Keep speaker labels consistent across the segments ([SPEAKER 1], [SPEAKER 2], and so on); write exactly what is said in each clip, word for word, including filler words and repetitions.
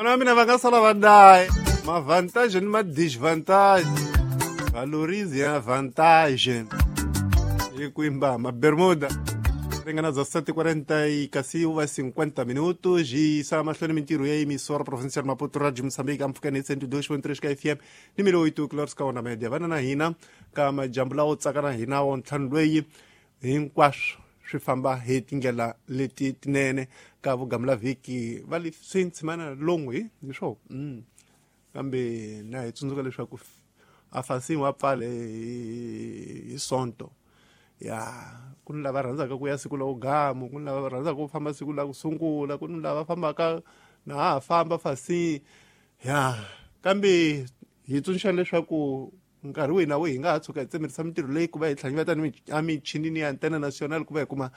[SPEAKER 1] Vana mina va nga sala va daye ma-vantage ni ma-disvantage valorize ya vantage hi kwimba ma-bermuda ringana za sete quarenta e kasi uva cinquenta minutos e sa mahlweni mintirho ya emissora provincial Maputo Radio Moçambique amfukeni cento e dois ponto três ka F M ni mil oito kilohertz ka wona media vana na hina ka majambu lawo tsaka na hina wo ntlhanu lweyi hinkwaswo swi famba hi tindlela leti tinene ka vugamula vhiki va le swintshimana longwe hi swo mm. Kambe na hi tsundzuka leswaku a fasini wa pfale hi sonto ya ku ni lava rhandzaka ku ya siku la ugamu ku ni lava rhandzaka ku famba siku la ku sungula ku ni lava fambaka na ha famba fasini ya kambe hi tsundzuxa leswaku nkarhi wihi na wihi hi nga ha tshuka hi tsemerisa mintirho leyi ku va hi tlhanyiveta ni emichinini ya antena national ku va hi kuma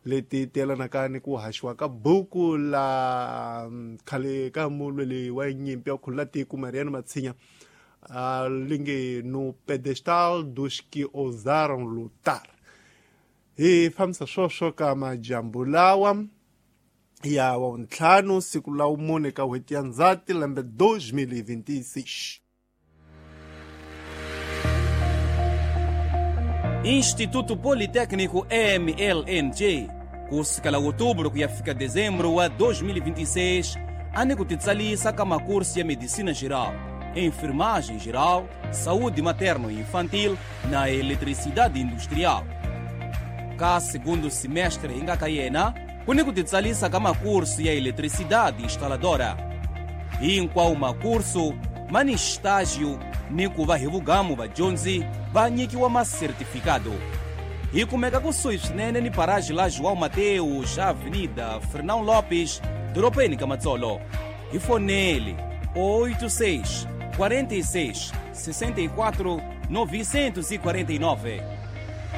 [SPEAKER 1] leti tiyelanaka ni ku haxiwa ka buku la khale ka mulweli wa nyimpi ya khulula tiko Mariano Matshinya a linge no pedestal dos que ousaram lutar. Hi fambisa swoswo ka majambu lawa ya wa ntlhanu siku la mune ka n'hweti ya Ndzhati lembe dois mil e vinte e seis.
[SPEAKER 2] Instituto Politécnico M L N G kusukela outubro ku ya fika dezembro wa dois mil e vinte e seis ane ku titsalisa ka makurso ya medicina geral, enfermagem geral, saúde materno e infantil na eletricidade industrial. Ka segundo semestre inga ka yena kuni ku titsalisa ka makurso ya eletricidade instaladora. Hinkwawo makurso mani estágio ni ku va hi vugamu vadyondzi va nyikiwa masertifikado. Hi kumeka kusuhi swinene ni paraji la João Mateus, Avenida Fernão Lopes, dorobeni ka Matsolo. Hi fonele oito seis, quarenta e seis, sessenta e quatro, novecentos e quarenta e nove.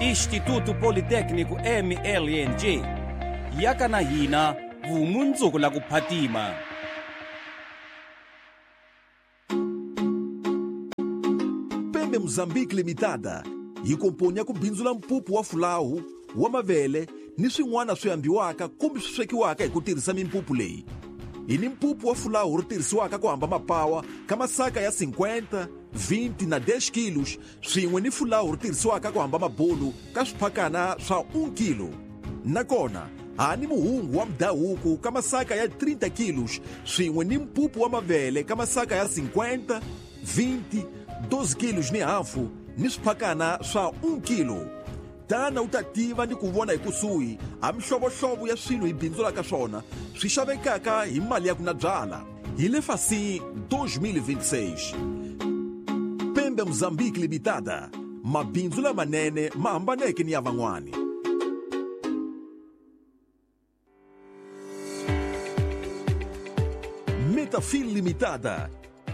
[SPEAKER 2] Instituto Politécnico M L N G. Yaka na hina vumundzuku la ku phatima.
[SPEAKER 3] Pembe Mozambique Limitada yi komponya ku bindzula mpupu wa fulawu wa mavele ni swin'wana swi ambiwaka kumbe swi swekiwaka hi ku tirhisa mimpupu leyi. Hi ni mpupu wa fulawu ri tirhisiwaka ku hamba mapawa ka masaka ya cinquenta, vinte na dez kilos swin'we ni fulawu ri tirhisiwaka ku hamba mabulu ka swiphakana swa um kilo. Nakona ha ni muhungu wa mdahuku ka masaka ya trinta kilos swin'we ni mpupu wa mavele ka masaka ya cinquenta, vinte, doze kilos ni hafu ni swiphakana swa um kilo. Tana u ta tiva ni ku vona hi kusuhi a mihlovohlovo ya swilo hi bindzulaka swona swi xavekaka hi mali ya ku na byala. Hi le fasi dois mil e vinte e seis. Pembe Mozambique Limitada, mabindzu lamanene ma hambaneke ni ya van'wani. Metafil Limitada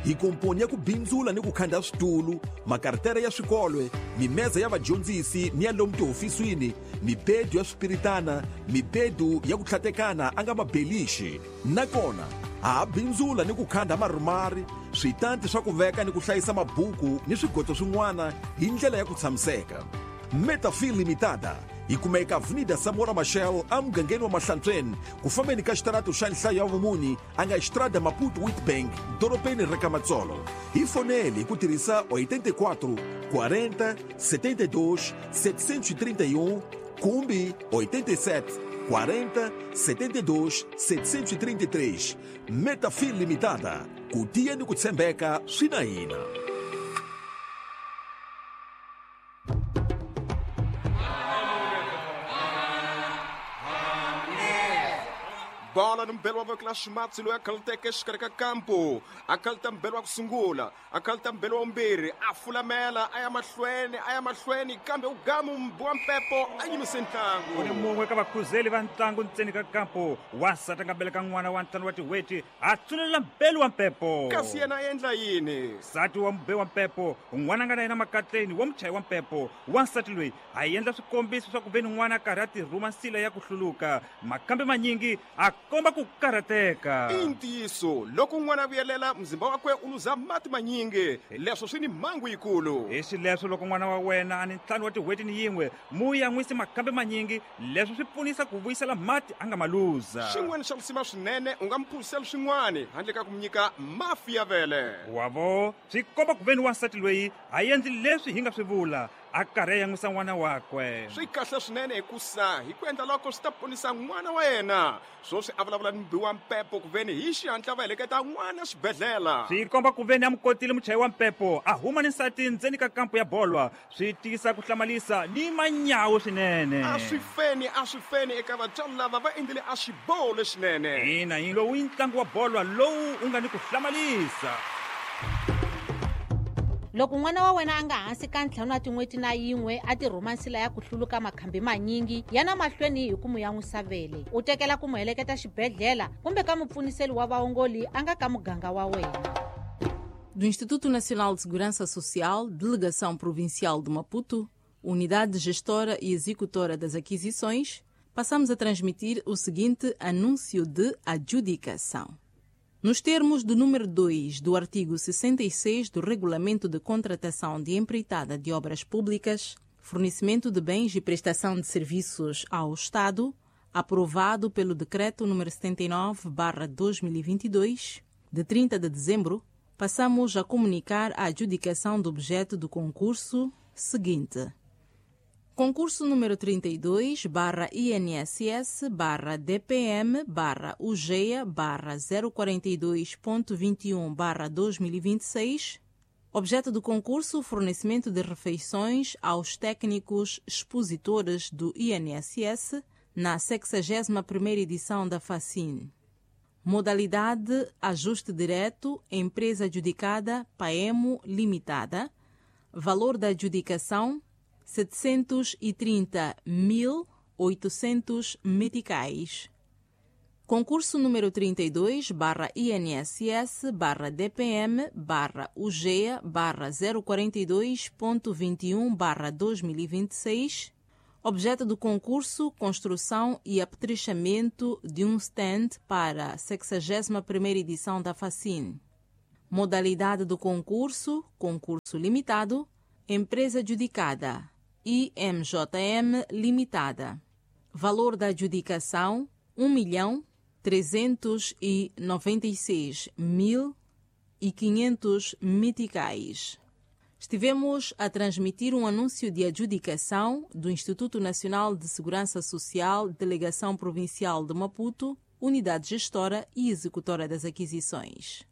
[SPEAKER 3] hi komponya ku bindzula ni ku khanda switulu, makartere ya swikolwe, mimeza ya vadyondzisi ni ya lomu tihofisini, mibedu ya swipiritana, mibedu ya ku tlhatekana a nga mabelixi. Nakona ha bindzula ni ku khanda marumari, switanti swa ku veka ni ku hlayisa mabuku ni swigoto swin'wana hi ndlela ya ku tshamiseka. Metafil Limitada hi kumeka Avenida Samora Machel emugangeni wa Mahlantsweni ku fambeni ka xitarato xa nhlayo ya vumuni a nga Estrada Maputo Witbank dorobeni ra ka Matsolo. Hi fonele hi ku tirhisa oitenta e quatro, quarenta, setenta e dois, setecentos e trinta e um kumbe oitenta e sete, quarenta, setenta e dois, setecentos e trinta e três. Metafil Limitada, ku tiya ni ku tshembeka swi na hina.
[SPEAKER 4] Bola ni mbelo wa voko la ximatsi loyi a khaluteke exikarhi ka kampo a khaluta mbelo wa ku sungula a khaluta mbelo wa vumbirhi a fulamela a ya mahlweni a ya mahlweni kambe u gamu mbu wa mpepo a yimise ntlangu.
[SPEAKER 5] Ku ni mun'we ka vakhuzeli va ntlangu ntseni ka kampo wansati a nga beleka n'wana wa ntlhanu wa tin'hweti a tsunelela mbelo wa mpepo.
[SPEAKER 4] Kasi yena a endla yini?
[SPEAKER 5] Nsati wa mube wa mpepo n'wana a nga na yena makatleni wa muchayi wa mpepo wansati loyi a endla swikombiso swa ku ve ni n'wana a karhi a tirhuma nsila ya ku hluluka makambe manyingi a komba ku karhateka.
[SPEAKER 4] I ntiyiso loko n'wana a vuyelela mzimba wakwe u luza mati manyingi, leswo swi ni mhangu yikulu.
[SPEAKER 5] Hi xileswo loko n'wana wa wena a ni ntlhanu wa tin'hweti ni yin'we, mu yan'wisi makhambi manyingi, leswo swi pfunisa ku vuyisela mati a nga ma luza.
[SPEAKER 4] Xin'wana xa risima swinene, u nga mi phuzisela swin'wana handle ka ku mi nyika mafi ya vele.
[SPEAKER 5] Wavo, swi komba ku veni wansati loyi a endli leswi hi nga swi vula, a karhi a yan'wisa n'wana wakwe.
[SPEAKER 4] Swi kahle swinene hikusa hi ku endla loko swi ta ponisa n'wana wa yena. Swoswi a vulavula ni mubi wa mpepo ku veni hi xihatla va heleketa n'wana xibedhlele.
[SPEAKER 5] Swi komba ku veni a mu kotile muchayi wa mpepo a huma ni nsati ndzeni ka kampo ya bolwa, swi tiyisa ku hlamalisa ni manyawu swinene.
[SPEAKER 4] A swi feni, a swi feni eka vatswari lava va endlile a xiboho lexinene.
[SPEAKER 5] Ina, hi lowu i ntlangu wa bolwa lowu u nga ni ku hlamalisa.
[SPEAKER 6] Loko n'wana wa wena a nga hansi ka ntlhanu wa tin'hweti na yin'we a ti rhuma nsila ya ku hluluka makhambi manyingi, yana mahlweni hi ku mu yan'wisa vele. U tekela ku mu heleketa xibedhlele kumbe ka mupfuniseli wa vaongoli a nga ka muganga wa wena.
[SPEAKER 7] Do Instituto Nacional de Segurança Social, Delegação Provincial de Maputo, Unidade Gestora e Executora das Aquisições, passamos a transmitir o seguinte anúncio de adjudicação. Nos termos do número dois do artigo sessenta e seis do Regulamento de Contratação de Empreitada de Obras Públicas, Fornecimento de Bens e Prestação de Serviços ao Estado, aprovado pelo Decreto número setenta e nove barra dois mil e vinte e dois, de trinta de dezembro, passamos a comunicar a adjudicação do objeto do concurso seguinte. Concurso número trinta e dois barra I N S S barra D P M barra U G E A barra zero quarenta e dois ponto vinte e um barra dois mil e vinte e seis. Objeto do concurso, fornecimento de refeições aos técnicos expositores do I N S S na sexagésima primeira edição da FACIN. Modalidade ajuste direto, empresa adjudicada, Paemo Limitada. Valor da adjudicação, setecentos e trinta mil oitocentos meticais. Concurso número trinta e dois barra I N S S barra D P M barra U G E A barra zero quarenta e dois ponto vinte e um barra dois mil e vinte e seis. Objeto do concurso, construção e apetrechamento de um stand para a sexagésima primeira edição da FACIN. Modalidade do concurso, concurso limitado, empresa adjudicada, I M J M Limitada. Valor da adjudicação, um milhão trezentos e noventa e seis mil e quinhentos meticais. Estivemos a transmitir um anúncio de adjudicação do Instituto Nacional de Segurança Social, Delegação Provincial de Maputo, Unidade Gestora e Executora das Aquisições.